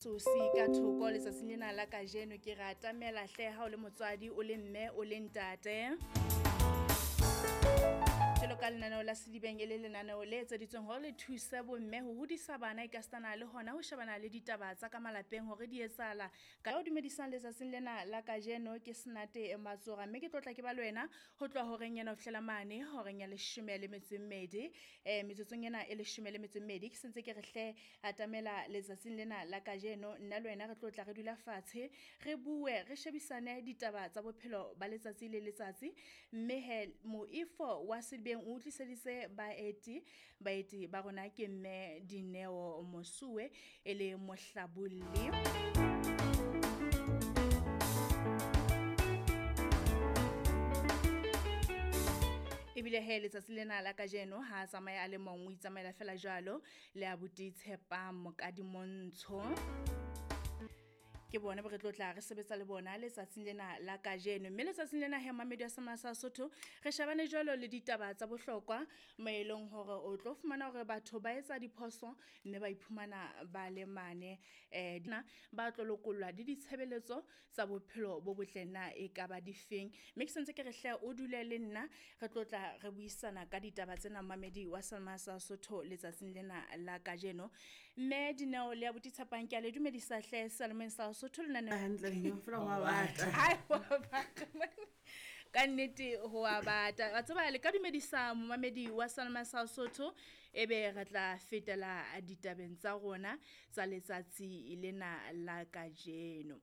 Sosi ka thoko letsatsing lena la kajeno ke re atamela hle ha o le motswadi o le mme o le ntate. Jwalo ka lenaneo la Sedibeng e le lenaneo le etseditsweng hore le thuse bomme ho hodisa bana ekasitana le hona ho shebana le ditaba tsa ka malapeng hore di etsahala. Ka o dumedisang letsatsing lena la kajeno ke Senate Matsora mme ke tlotla ke ba le wena ho tloha horeng ena ho fihlela mane horeng ya leshome le metso e mmedi. Metsotsong ena e leshome le metso e mmedi ke sentse ke re hle atamela letsatsing lena la kajeno nna le wena re tlo tla re dula fatshe re bue re shebisane ditaba tsa bophelo ba letsatsi le letsatsi mme he moifo wa Sedibeng o tliseditse baeti baeti ba rona ke mme Dineo Mosuwe e le mohlabolli. Ebile he letsatsi lena la kajeno ha a tsamaya a le mong o itsamaela fela jwalo le abuti Tshepang Mokadimontsho. Ke bona bo re tlo tla re sebetsa le bona letsatsing lena la kajeno. Mme letsatsing lena he mamedi wa Semana sa Sotho re shebane jwalo le ditaba tsa bohlokwa mo e leng hore o tlo fumana hore batho ba etsa diphoso mme ba iphumana ba le mane dina ba tlo lokollwa le ditshebeletso tsa bophelo bo botle na e ka ba difeng. Mme ke sentse ke re hle o dule le nna re tlo tla re buisana ka ditaba tsena mamedi wa Semana sa Sotho letsatsing lena la kajeno. Mme Dineo le abuti Tshepang ke a le dumedisa hle Salomon sa Sotho le nane hantle mme fela wa bata. Ai wa bata. Ka nnete ho a bata. Wa tseba le ka dumedisa momamedi wa Salma sa Sotho ebe re tla fetela ditabeng tsa rona tsa letsatsi lena la kajeno.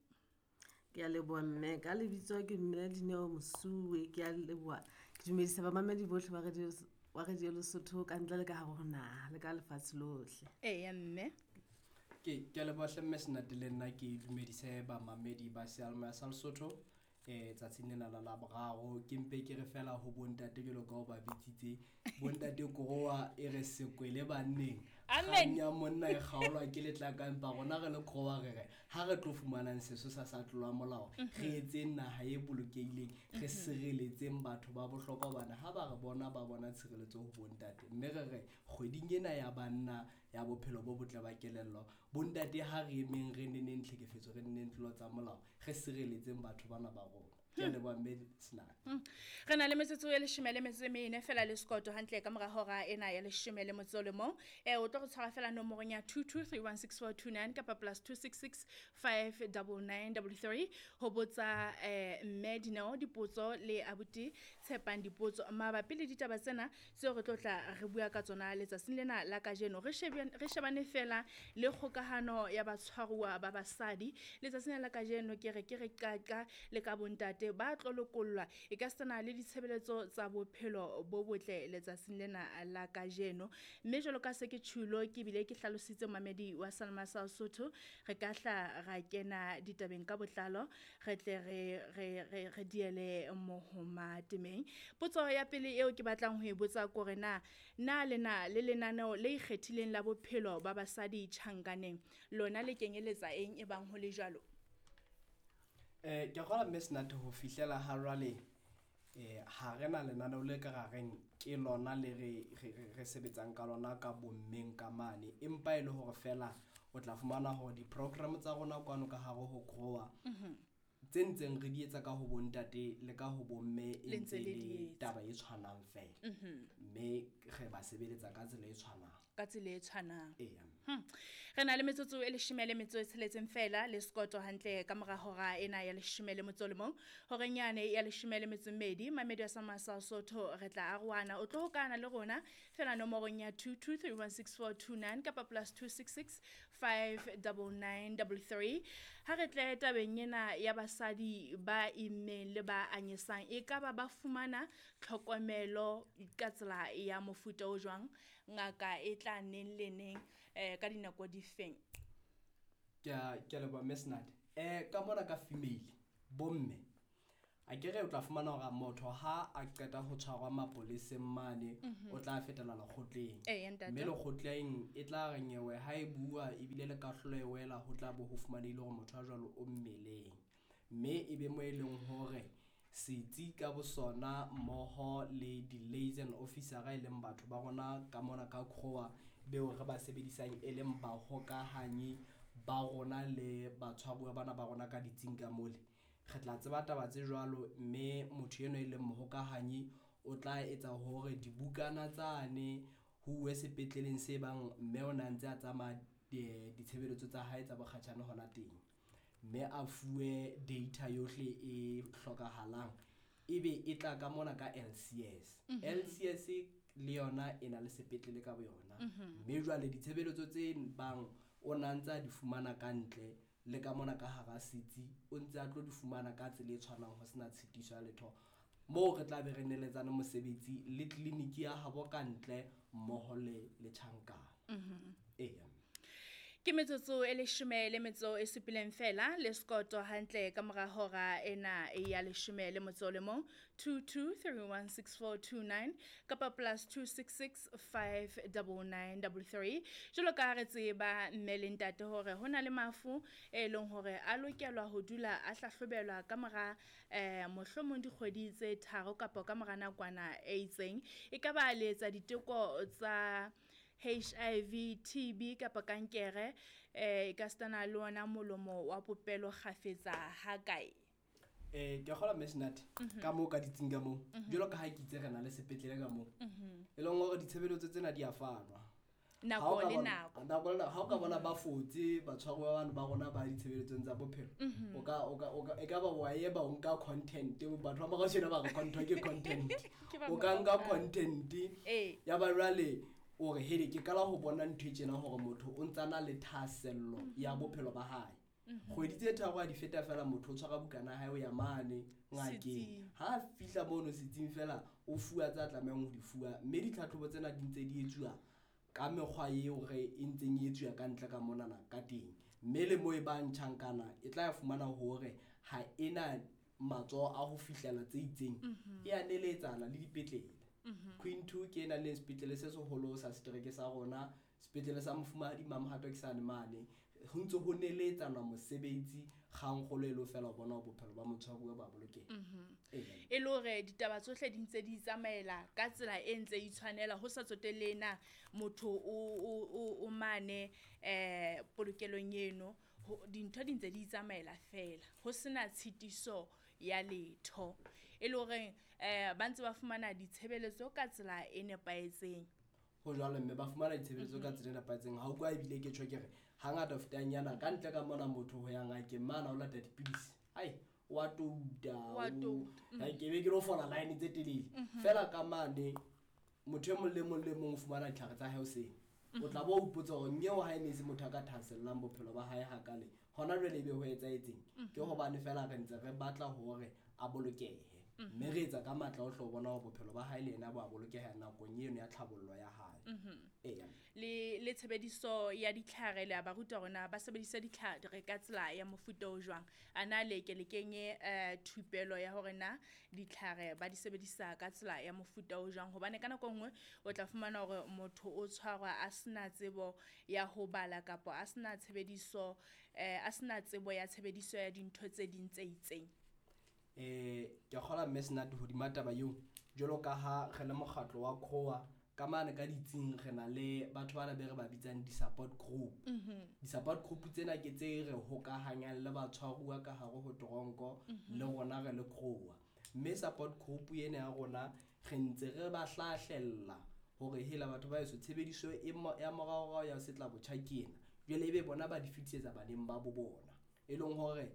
Ke a leboha mme ka lebitso ke mme Dineo Mosuwe ke a leboha. Ke dumedisa bamamedi bohle ba radio wa Radio Lesotho ka ntle le ka hare ho naha le ka lefatshe lohle. Eya mme. Ke leboha hle mme Senate le nna ke dumedise bamamedi ba Seyalemoya sa Lesotho tsatsing lena la Laboraro. Ke mpe ke re fela ho bontate jwalo ka o ba bitsitse bontate Korowa e re sekwele banneng. Amen. Kgang ya monna e kgaolwa ke letlaka empa rona re le Korowa re re ha re tlo fumanang sesosa sa tlolo ya molao re etseng naha e bolokehileng re sireletseng batho ba bohlokwa hobane ha ba re bona ba bona tshireletso ho bontate. Mme re re kgweding ena ya banna ya bophelo bo botle ba kelello bontate ha re emeng re neneng tlhekefetso re neneng tlolo tsa molao re sireletseng batho bana ba rona. Ke a leboha mme Senate. Re na le metsotso e leshome le metso e mene fela le sekoto hantle ka mora hora ena ya leshome le motso o le mong. O tlo re tshwara fela nomorong ya 22316429 kapa plus 266 59933 ho botsa mme Dineo dipotso le abuti Tshepang dipotso mabapi le ditaba tsena tseo re tlo tla re bua ka tsona letsatsing lena la kajeno. Re shebane fela le kgokahano ya batshwaruwa ba basadi letsatsing la kajeno. Ke re ke re qaqa le ka bontate ba tlo lokollwa e ka sena le ditshebeletso tsa bophelo bo botle letsatsing lena la kajeno. Mme jwalo ka se ke tjhulo ke bile ke hlalositse mamedi wa Salma sa Sotho re ka hla ra kena ditabeng ka botlalo re tle re diele mohoma temeng. Potso ya pele eo ke batlang ho e botsa kore na le na le lenaneo le ikgethileng la bophelo ba basadi tjhankaneng lona le kenyeletsa eng e bang ho le jwalo? Ke kgolwa mme Senate ho fihlela ha jwale ha re na lenaneo le ka ra reng ke lona le re sebetsang ka lona ka bommeng ka mane, empa e le hore fela o tla fumana hore di-program tsa rona kwano ka hare ho Grower tse ntseng re di etsa ka ho bontate le ka ho bomme e Le ntse ntse le le di etsa. taba e tshwanang fela. Mme re ba sebeletsa ka tsela e tshwanang. Ka tsela e tshwanang. Eya. Re na le metsotso e leshome le metso e tsheletseng fela le sekoto hantle ka mora hora ena ya leshome le motso o le mong. Horeng yane ya leshome le metso e mmedi, mamedi wa Salma sa Sotho re tla arohana. O tlo hokana le rona fela nomorong ya 22316429 kapa plus 266 59933. Ha re tle tabeng ena ya basadi ba immeng le ba anyesang e ka ba ba fumana tlhokomelo ka tsela ya mofuta o jwang, ngaka e tla neng le neng ka dinako difeng? Ke a leboha mme Senate. Ka mona ka female bomme a ke re o tla fumana hore motho ha a qeta ho tshwarwa mapoleseng mane o tla fetela lekgotleng. Eya, ntate. Mme lekgotleng e tla re nyewe ha e bua ebile le kahlolo e wela ho tla bo ho fumanehile hore motho a jwalo o mmeleng. Mme e be mo e leng hore setsi ka bosona mmoho le di-liaison officer e leng batho ba rona ka mona ka Grower beo re ba sebedisang e leng bahokahanyi ba rona le batshwaruwa bana ba rona ka ditsing ka mole. Re tla tseba taba tse jwalo, mme motho enwa e leng mohokahanyi o tla etsa hore dibukana tsane ho uwe sepetleleng se bang mme o na ntse a tsamaya ditshebeletso tsa hae tsa bokgatjhane hona teng, mme a fuwe data yohle e hlokahalang, ebe e tla ka mona ka LCS. LCS le yona e na le sepetlele ka boyona, mme jwale ditshebeletso tse bang o na ntse a di fumana ka ntle le ka mona ka hara setsi, o ntse a tlo di fumana ka tsela e tshwanang, ho sena tshitiso ya letho. Moo re tla be re neletsane mosebetsi le tleliniki ya habo ka ntle mmoho le tjhankana. Eya. Ke metsotso e 17 fela le sekoto hantle ka mora hora ena ya 11 22316429 kapa +266 59933. Jwalo ka re tseba mme le ntate hore ho na le mafu e leng hore a lokelwa ho dula a hlahlobelwa ka mora mohlomong dikgwedi tse 3 kapa ka mora nakwana e itseng. E ka ba le etsa diteko tsa HIV, TB kapa kankere, ka stana le ona molomo wa popelo kgafetsa ha kae? Ke kgola Mesnat ka moo ka ditsing ka moo. Jwalo ka ha ke itse re na le sepetlele ka moo. E leng hore ditshebeletso tsena di a fanwa. Nako le nako. Nako le nako. Ha o ka bona ba fotse batshwaruwa bana ba rona ba ditshebeletsong tsa bophelo. O ka e ka ba wa e ba o nka content, batho ba morao ba re content ke content. O ka nka content. Ya ba jwale o re hele ke qala ho bona ntho e tjena hore motho o ntsa na le thahasello ya bophelo ba hae. Kgwedi tse 3 a di feta fela motho o tshwara bukana ya hae o ya mane ngakeng. Ha fihla mono setsing fela o fuwa tsa tlamehang ho di fuwa, mme ditlhatlhobo tsena di ntse di etsuwa ka mekgwa eo re e ntseng e etsuwa ka ntle ka monana ka teng. Mme le moo e bang tjhankana e tla fumana hore ha ena matsoho a ho fihlela tse itseng, e a neletsana le dipetlele. Queen 2 ke ena le sepetlele se seholo sa setereke sa rona, sepetlele sa Mofumahadi Mamohato ke sane mane. Ho ntse ho neletsana mosebetsi kgangkgolo e le fela ho bona bophelo ba motshwaruwa ba bolokeha. E le hore ditaba tsohle di ntse di tsamaela ka tsela e ntse e tshwanela, ho sa tsotelle na motho o mane polokelong eno, dintho di ntse di tsamaela fela, ho sena tshitiso ya letho. E le hore ba ntse ba fumana ditshebeletso ka tsela e nepahetseng. Ho jwalo, mme ba fumana ditshebeletso ka tsela e nepahetseng. Ha o kwa ebile ke tjho ke re hangata ho fetang yana ka ntle ka mona motho ho ya ngakeng mane o lata dipidisi, ai wa touta, ke be ke lo fola line tse telele. Fela ka mane motho e mong le mong le mong o fumana ditlhare tsa hae hoseng. O tla bo o ipotsa hore nyeo ha e ne se motho a ka thahasellang bophelo ba hae hakale, hona jwale ebe ho etsahetseng? Ke hobane fela re ntse re batla hore a bolokehe, mme re etsa ka matla ohle ho bona hore bophelo ba hae le yena bo a bolokeha nakong eno ya tlhabollo ya hae. Eya. Le tshebediso ya ditlhare le a ba ruta hore na ba sebedisa ditlhare ka tsela ya mofuta o jwang. A na le ke le kenye thupelo ya hore na ditlhare ba di sebedisa ka tsela ya mofuta o jwang, hobane ka nako nngwe o tla fumana hore motho o tshwarwa a sena tsebo ya ho bala kapa a sena tshebediso, a sena tsebo ya tshebediso ya dintho tse ding tse itseng. Ke kgola Mesnat hodima taba eo, jwalo ka ha re le mokgatlo wa CROA ka mane ka ditsing re na le batho bana be re ba bitsang di-support group. Di-support group tsena ke tse re hokahanyang le batshwaruwa ka hare ho toronko le rona re le CROA. Mme support group ena ya rona re ntse re ba hlahlella hore hela batho ba heso tshebediso ya moraorao ya setla botjha ke ena, jwale ebe bona ba di fetisetsa baneng ba bo bona. E leng hore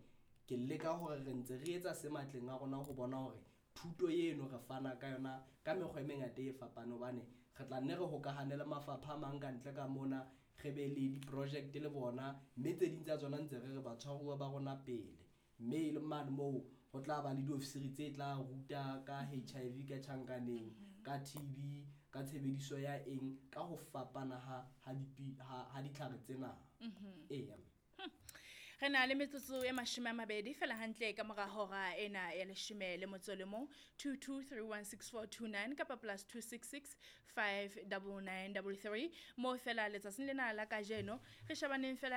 ke leka hore re ntse re etsa se matleng a rona ho bona hore thuto eno re fana ka yona ka mekgwa e mengata e fapaneng, hobane re tla nne re hokahane le mafapha a mang ka ntle ka mona, re be le di-project le bona, mme tse ding tsa tsona ntse re re batshwaruwa ba rona pele. Mme e le mane moo ho tla ba le diofisiri tse tla ruta ka HIV ka tjhankaneng, ka TB, ka tshebediso ya eng, ka ho fapana ha ditlhare tsena. Eya. Re na le metsotso e 20 fela hantle ka mora hora ena ya 11 22316429 kapa +266 59933 mo fela letsatsing lena la kajeno re shabaneng fela.